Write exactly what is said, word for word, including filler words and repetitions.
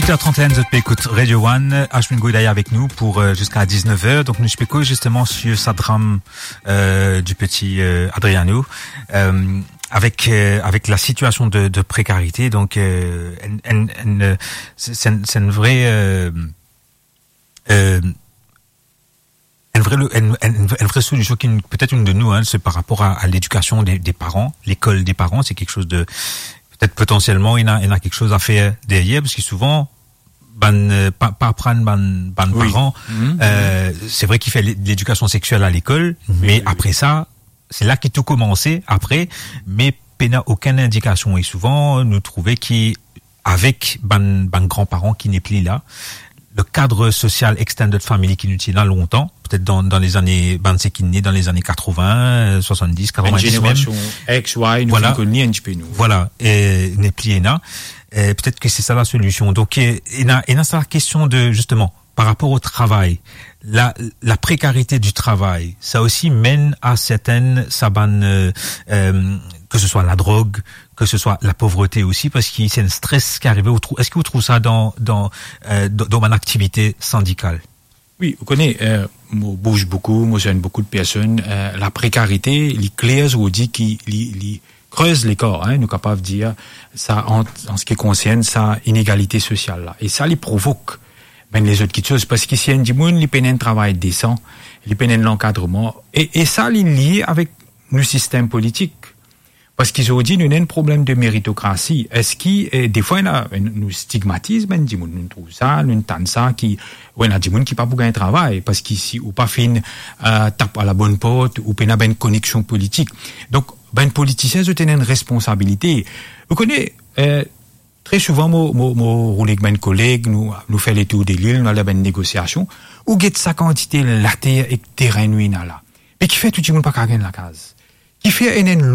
Huit heures trente et un, zot pe ekout Radio One, Ashwin Goyal avek nou pou, euh, ziska dix-neuf heures. Donk nou pe koz zisteman sir sa dram, euh, du petit, euh, Adriano, euh, avek, euh, avek la sitiasion de, de prekarite. Donk, euh, enn, enn, enn, euh, se, se enn, se enn vre, euh, euh, enn vre, enn, enn, enn vre solision ki, petet, inn de nou, hein, se par rapor a, a ledikasion de, de paran, lekol de paran, se kiksoz de, petet, potansielman, ena, ena kiksoz a fer deryer, parski souvan, bann, euh, pa, pa aprann bann, bann paran, euh, se vre ki fer le-, ledikasion sexiel a lekol, me apre sa, se la ki tou koumanse apre, me pena okenn indikasion. E souvan, nou trouve ki avek bann, bann granparan ki nepli la, le kad sosial extended family ki nou ti ena lontan, petet dan, dan lezane, bann seki ne dan lezane katrovin, euh, swasanndis, katrovin-dis mem. Enn zenerasion X, Y, nou finn konn li enn tipe nou. Vwala, e nepli ena. E petet ki se sa lasolision. Donk, e, ena, ena sa kestion de, zisteman, par rapor o travay, la, la prekarite di travay, sa osi menn a sertenn sa bann, euh, euh, ke se swa ladrog, ke se swa lapovrete osi, parski se enn stres ki arive. Ou trou-, eski ou trouv sa dan, dan, euh, dan, dan bann aktivite sindikal? Wi, ou kone, euh, mo bouz boukou, mo zwenn boukou de personn, euh, la prekarite, li kler, ou dir ki li, li krez lekar, hein, nou kapav dir sa, an, an se ki konsern sa inegalite sosial la. E sa, li provok bann lezot kiksoz, parski si enn dimoun, li pena enn travay desan, li pena enn lankadreman, e, e sa, li lie avek nou sistem politik. Parski zordi, nou ena enn problem de meritokrasi. Eski, eh, defwa, ena, nou stigmatiz bann dimoun, nou trouv sa, nou tann sa, ki, ou ena dimoun ki pa pou gagn travay, parski si ou pa finn, eh, tap a labonn port, ou pena bann koneksion politik. Donk, bann politisien, zot ena enn responsabilite. Ou kone, eh, tre souvan, mo, mo, mo roule ek bann koleg, nou, nou fer letour de lil, nou al dan bann negosiasion, ou get sa kantite later ek teren nou ena la. Me kifer tou dimoun pa kapav gagn lakaz? Kifer ena enn